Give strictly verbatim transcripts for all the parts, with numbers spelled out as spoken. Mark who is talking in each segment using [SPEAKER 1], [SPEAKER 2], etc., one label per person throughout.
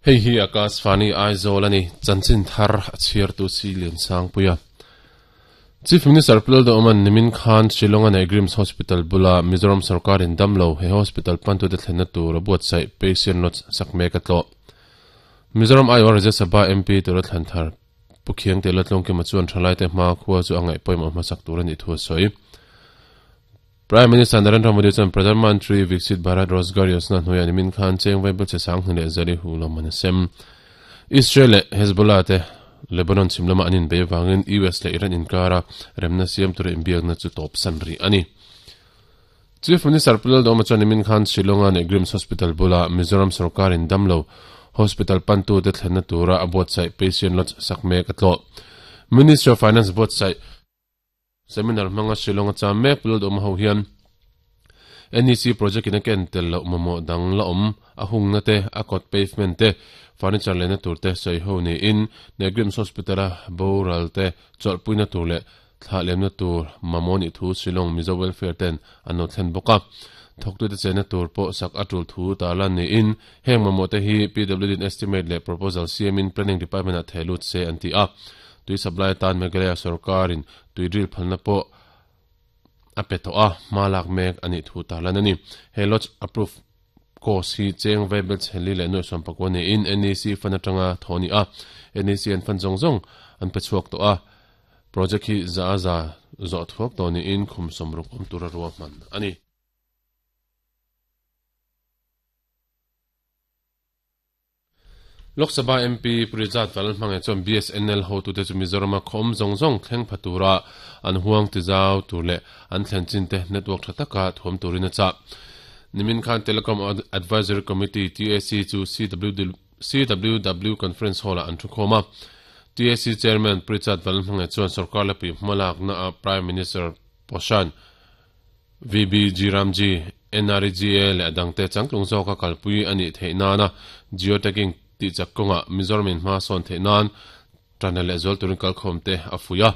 [SPEAKER 1] Hei hi Akashvani Aizawl ani chanchin thar a chhiar tu si lian sang puia. Chief Minister Pu Lalduhoma nimin khan Shillong a nei Grims Hospital bula Mizoram sarkar in damlo he hospital pantu te thlenna tur a buatsaih patient lodge sak mek a tlawh. Mizoram Aiawh Rajya Sabha M P tura thlan thar Pu Khiangte Latlawngkima chuan thalai te hma khua chu a ngaih pawimawh hmasak tur a nih thu a sawi. Prime Minister Narendra Modi chuan Pradhan Mantri Viksit Bharat Rozgar Yojana hnuaiah nimin khan cheng vaibel che sang hni leh zali hu lawm an a sem. Israel leh Hezbollah te Lebanon chhim lamah an inbei avangin U S leh Iran inkara remna siam tura inbiakna chu tawp san rih a ni. Chief Minister Pu Lalduhoma chuan nimin khan Shillong-a nei Grims Hospital bula Mizoram sarkarin damlo hospital pantute thlenna tura a buatsaih patient lodge sak mek a tlawh. Ministry of Finance buatsaih Seminar hmanga Shillong a cham mek Pu Lalduhoma ho hian N E C project in a ken tel loh mamawh dang la awm a hungna te, a kawt pavement te, furniture lehna tur te sawi ho niin Negrims Hospital a boral te chawlhpuina tur leh thlah lemna tur mamawh nih thu Shillong Mizo Welfare ten an lo thlen bawk a. Thawktute chenna tur pawh sak a tul thu tarlan niin heng mamawh te hi P W D in estimate leh proposal siamin Planning Department ah theh lut se an ti a. Tui supply atan Meghalaya sarkarin tui drill phalna pawh a pe tawh a, hma lak mek a nih thu tarlan a ni. He lodge approve course hi cheng vaibel chheli leh nuaih sawm pakua niin N E C fund atanga thaw a ni a, N E C an fund zawng zawng an pe chhuak tawh a, project hi za a za zawh thuak tawh niin khum sawmruk awm tura ruahman a ni. Lok Sabha M P Pu Rijat Vanlalhmangaih chuan B S N L hotute chu Mizorama khaw awm zawng zawng thleng pha tura an huang tizau tur leh an thlen chin te network tha taka thuam turin a chah. Nimin khan Telecom Advisory Committee, T A C, chu C W W Conference Hall-ah an thukhawm a. T A C Chairman Pu Rijat Vanlalhmangaih chuan sorkar lepui hmalakna a Prime Minister Poshan V B G Ramji, N R E G A leh a dangte changtlung zawka kalpui a nih theih nana geotagging tih chak kawngah Mizoram in hma sawn theih nan tanna leh zual turin kalkhawm te a fuih a.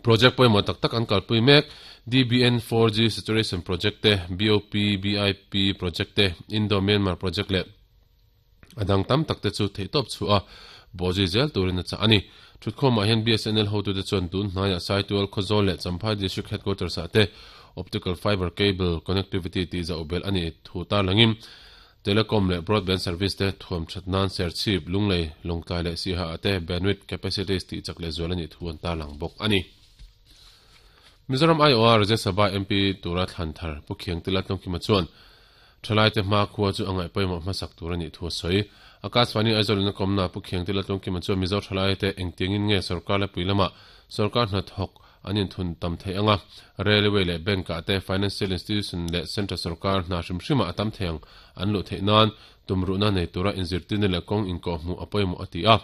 [SPEAKER 1] Project pawimawh tak tak an kalpui mek, D B N four G saturation project te, B O P B I P project te, Indo-Myanmar project leh a dang tam tak te chu theihtawp chhuah a bawhzui zel turin a chah a ni. Thutkhawmah hian B S N L hotute chuan tun hnaiah Saitual, Khawzawl leh Champhai District Headquarters ah te Optical Fiber Cable Connectivity tih zauh belh a nih thu tarlangin Telecom leh Broadband Service te thuam that nan Serchhip, Lunglei, Lawngtlai leh Siha ah te Bandwidth Capacities tih chak leh zual a nih thu an tarlang bawk a ni. Mizoram I O R Rajya Sabha M P tura thlan thar Pu Khiangtila Tlawngkima chuan Thalaite hma khua chu a ngaih pawimawh hmasak tur a nih thu a sawi. Akashvani Aizawl in a kawmna Pu Khiangtila Tlawngkima chuan Mizo thalaite engtiangin nge sorkar lepui lamah sorkar hnathawk an inthun tam theih anga, railway leh bank ah te, financial institution leh central sorkar hna hrim hrimah a tam thei ang an luh theih nan tumruhna nei tura inzirtirna leh kawng inkawhhmuh a pawimawh a ti a.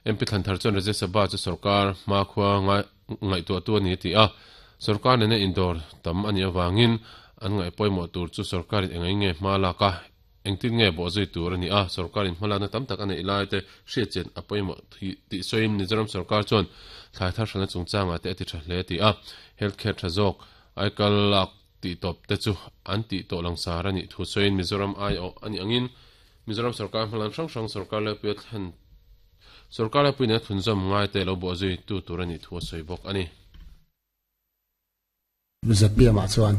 [SPEAKER 1] M P Thlanthar chuan Rajya Sabha chu sorkar hma khua ngaihtuahtu a ni a ti a, sorkar nena indawr tam a nih avangin an ngaih pawimawh tur chu sorkarin eng eng nge hma lak a, engtin nge bawhzui tur a ni a, sorkarin hmalakna tam tak a neih lai te hriatchian a pawimawh tih sawiin Mizoram sorkar chuan thlai thar hralhna chungchangah te a ti tha hle a ti a, health care tha zawk aikal lak tih tawp te chu an tih tawh langsar a nih thu sawiin Mizoram aiawh a nih angin Mizoram sorkar hmalam hrang hrang sorkar laipui a thlen sorkar laipui nen a thlunzawm ngai te lo bawhzui tu tur a nih thu a sawi bawk a ni.
[SPEAKER 2] Z P M ah chuan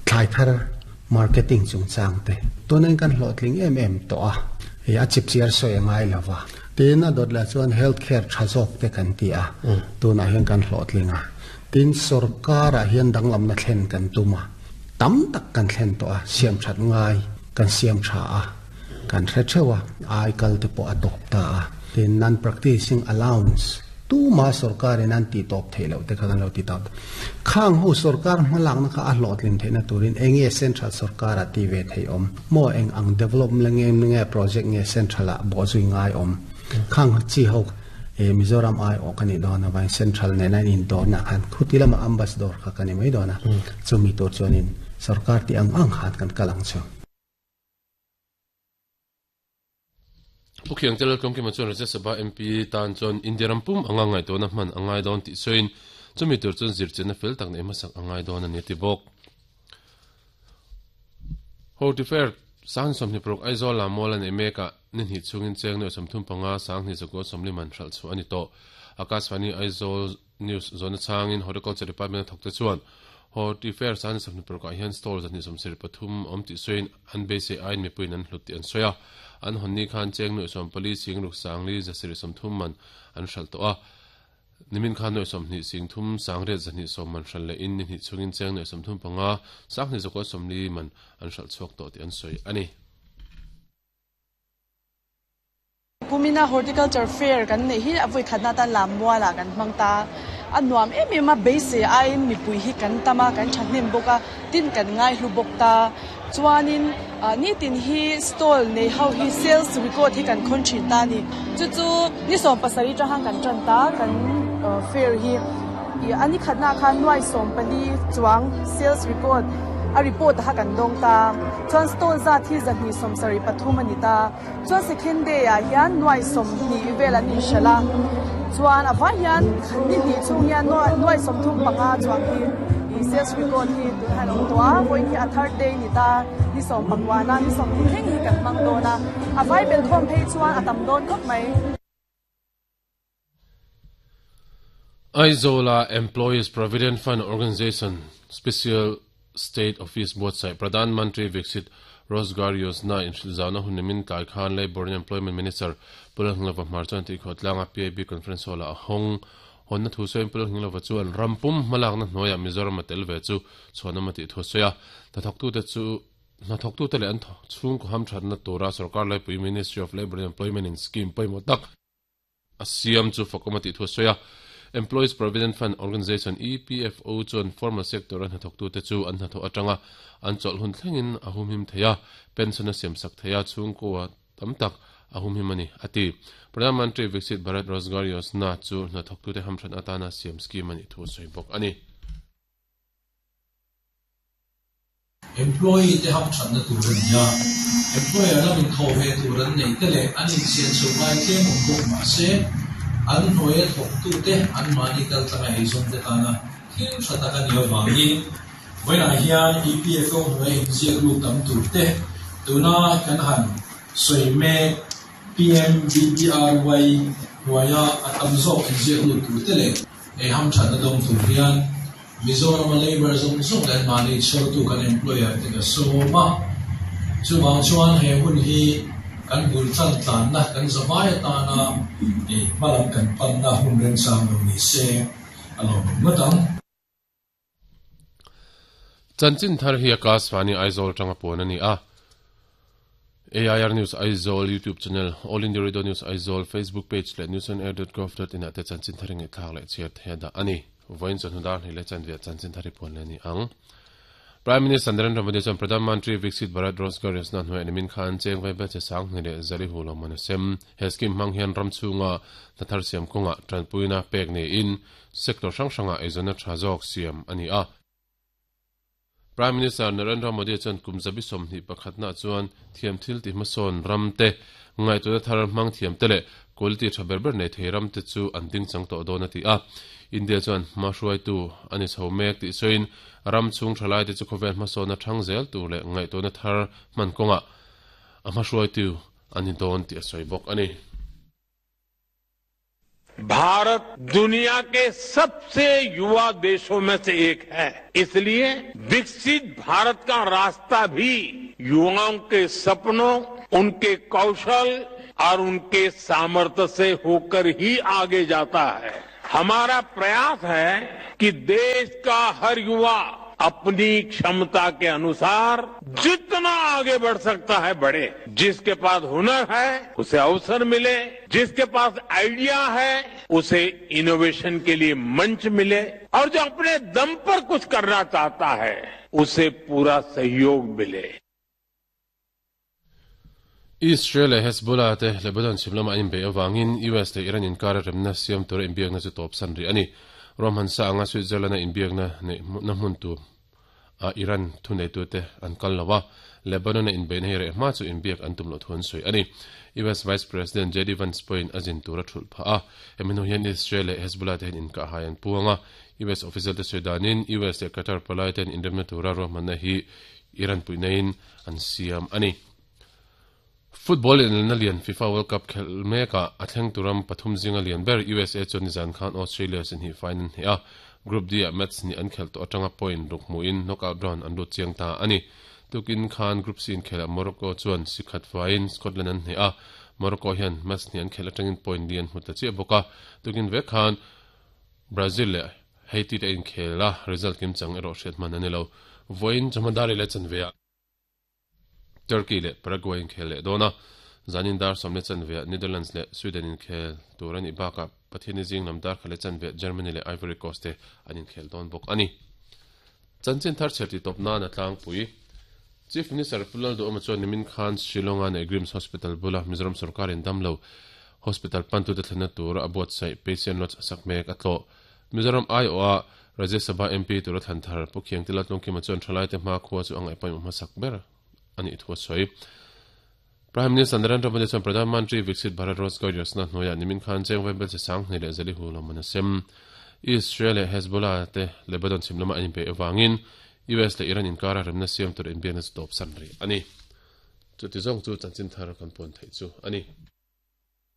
[SPEAKER 2] thlai thar marketing chungchang te tunin kan hlawhtling em em tawh a, hei a chipchiar sawi a ngai lo va. Tin a dawt leh chuan health care tha zawk te kan ti a, tunah hian kan hlawhtling a. Tin sorkarah hian danglamna thlen kan tum a, tam tak kan thlen tawh a, siam that ngai kan siam tha a, kan hre theuh a, ai kal te pawh a tawp ta a. Tin non-practicing allowance tuma sorkarin an tih tawp theih loh te kha kan lo ti tawp. Khang ho sorkar hmalakna kha a hlawhtlin theihna turin eng nge central sorkarah ti ve theih awm? Maw eng ang development nge nge project nge central ah bawhzui ngai awm? Khang chi ho e Mizoram ai awh ka nih dawn avangin central nena in indawrna khan khuti lama ambassador kha ka ni mai dawn a, chumi tur chuanin sorkar tih ang ang khan kan kal ang chu.
[SPEAKER 1] Pu Khiangte Laltlawngkima chuan Rajya Sabha M P tan chuan India ram pum anga ngaihtuahna hman a ngai dawn tih sawiin chumi tur chuan zirchianna fel tak neih hmasak a ngai dawn a ni a ti bawk. Hortifair Sang somni prok Aizawl la mall an emeka ni hi chungin cheng no somthum panga sang ni zako somli man hral chu ani to Akashvani Aizawl News zona changin Horticulture Department thokte chuan Horti Fair san somni prok hian stall zani somsir pathum om ti soin an be se ain mi puin an hluti an soya an honni khan cheng no som pali sing ruk sangli zasir somthum man an hral to a nimin khan no somni sing thum sangre zani som man hral le in ni hi chungin cheng no somthum panga sang ni zako somli man an hral chhuak to ti an soi ani
[SPEAKER 3] Pumina Horticulture Fair kan nei hi avoi khatna tan lamwala kan mangta anuam em em a base ai mi pui hi kan tama kan thahnem boka tin kan ngai hlu bokta chuanin ni tin hi stall nei ho hi sales record hi kan khon thin ta ni chu chu ni som pasari ta hang kan tran ta kan fair hi ani khatna khan nuai som pali chuang sales record a report ha kan dong ta chuan stall za thi za ni som sari pathum ani ta chuan second day a hian nuai som ni vel ani shala chuan awa hian ni ni chung hian nuai som thum panga chuang hi i sales record hi tu han ong to a voi hi a third day ni ta ni som pangwana ni som theng hi kan mang do na awai bel khom phei chuan atam don khop mai.
[SPEAKER 1] Aizola Employees Provident Fund Organization Special State Office Board sai Pradhan Mantri Viksit Rozgar Yojana in Shilzana Hunimin Tai Khan Labor and Employment Minister Pulanglova Marchan Ti Khotlanga P I B Conference Hall a hong honna thu soin Pulanglova chu an rampum malak na hnoya Mizoram atel ve chu chhonamati thu soya ta thoktu te chu na thoktu te le an chung ko ham thatna tora sarkar lai pui Ministry of Labor and Employment in scheme paimo tak asiam chu fakomati thu soya Employees Provident Fund Organization E P F O chuan formal sector an thoktu te chu an tho atanga an chol hun thlengin ahum him theya pension a sem sak theya chung ko tamtak ahum him ani ati Pradhan Mantri Viksit Bharat Rozgar Yojana chu na thoktu te hamthan atana siam scheme ani thu soi bok ani
[SPEAKER 4] employee te hamthan na turan ya employer la min tho ve turan nei te le ani sian chu mai te mum bok ma se an hnoia thok tu te an mani kal tlanga eizawng te tana thil tha tak ani awangin vawiinah hian E P F O hnuai inziak lut tam tur te tuna kan han sawi mek P M B B R Y hnuaia a tam zawk inziak lut tur te leh ei ham thatna dawng tur hian Mizoram labor zawng zawng leh mani chhawrtu kan employer te ka sawm a chuvang chuan he hun hi kan bul tlan tlan na kan zawai atana e hmalam kan pan na hun reng sang lo ni se alo ngatang
[SPEAKER 1] Chanchin thar hi Akashvani Aizawl tanga pon ani a A I R News Aizawl YouTube channel All India Radio News Aizawl Facebook page le news on air dot gov dot in ate chanchin thar nge thak le chiat the da ani voin chon dar ni le chanvia chanchin thari pon le ni ang Prime Minister Narendra Modi chuan Pradhan Mantri Viksit Bharat Rozgar Yojana hnuai nimin khan cheng vai ba che sang ni le zari hu lo man sem he scheme hmang hian ram chunga thar siam konga tranpuina pek ni in sector hrang hranga eizawna tha zawk siam ani a Prime Minister Narendra Modi chuan kum zabi somhnih pakhatna chuan thiam thil ti hmasawn ram te ngai tu thar hmang thiam te le quality tha ber ber nei thei ram te chu an ding chang tawh dawn ati a India chuan hma hruai tu ani chho mek ti soin ram chung thalai te chu khawvel hmasawn a thang zel tu le ngai tu na thar hman kawnga a hma hruai tu ani dawn ti a sawi bawk ani.
[SPEAKER 5] Bharat दुनिया के सबसे युवा देशों में से एक है, इसलिए विकसित भारत का रास्ता भी युवाओं के सपनों, उनके कौशल और उनके सामर्थ्य से होकर ही आगे जाता है। हमारा प्रयास है कि देश का हर युवा अपनी क्षमता के अनुसार जितना आगे बढ़ सकता है बढ़े। जिसके पास हुनर है उसे अवसर मिले, जिसके पास आइडिया है उसे इनोवेशन के लिए मंच मिले और जो अपने दम पर कुछ करना चाहता है उसे पूरा सहयोग मिले।
[SPEAKER 1] Israel Hezbollah te Lebanon chimlama in be awangin U S te Iran in kar remna siam tur inbiak na chu top san ri ani Roman sa anga Switzerland na inbiak na ne na hmun tu a Iran thunei tu te an kal lawa Lebanon na in be nei re ma chu inbiak an tum lo thun soi ani U S Vice President J D Vance point azin tura thul pha a emino hian Israel Hezbollah te in ka hayan puanga U S official te soidanin U S te Qatar palai ten indemna tura Roman na hi Iran puinain an siam ani. Football in na lian FIFA World Cup khel meka a thleng turam pathum zinga lian ber U S A chuan nizan khan Australia sin hi final ni a Group D a match ni an khel to atanga point ruk mu in knockout round an lut chiang ta ani tukin khan Group C in khela Morocco chuan sikhat fain Scotland an hne a Morocco hian match ni an khel atangin point lian hmu ta chi boka tukin ve khan Brazil le Haiti te in khela result kim chang ero hriat man ani lo voin chamadari le chanvea Turkey le Paraguay in khel le dona zanin dar somne chanvea Netherlands le Sweden in khel turani baka Pathini jing namdar khale chanve Germany le Ivory Coast te anin khel don bok ani chanchin thar cherti topna na tlang pui Chief Minister Pulal do amachuan nimin khan Shillonga ne Grims Hospital bula Mizoram Sarkar in damlo Hospital pantu te thlana tur abuat sai patient lot sakmek atlo Mizoram I O A Rajya Sabha M P tur than thar pukhiang tilat longki machuan thalai te ma khuwa chu angai pai ma sakber ani ithua soi Prime Minister Narendra Modi chuan Pradhan Mantri Viksit Bharat Rozgar Yojana hnuaiah nimin khan cheng vaibel che sang hnih leh zali hu lo man a sem Israel leh Hezbollah te Lebanon chhim lama an inpe awangin U S le Iran inkara remna siam tur inbiakna chu tawp san ri ani chu ti zawng chu chanchin thar kan pawn theih chu ani.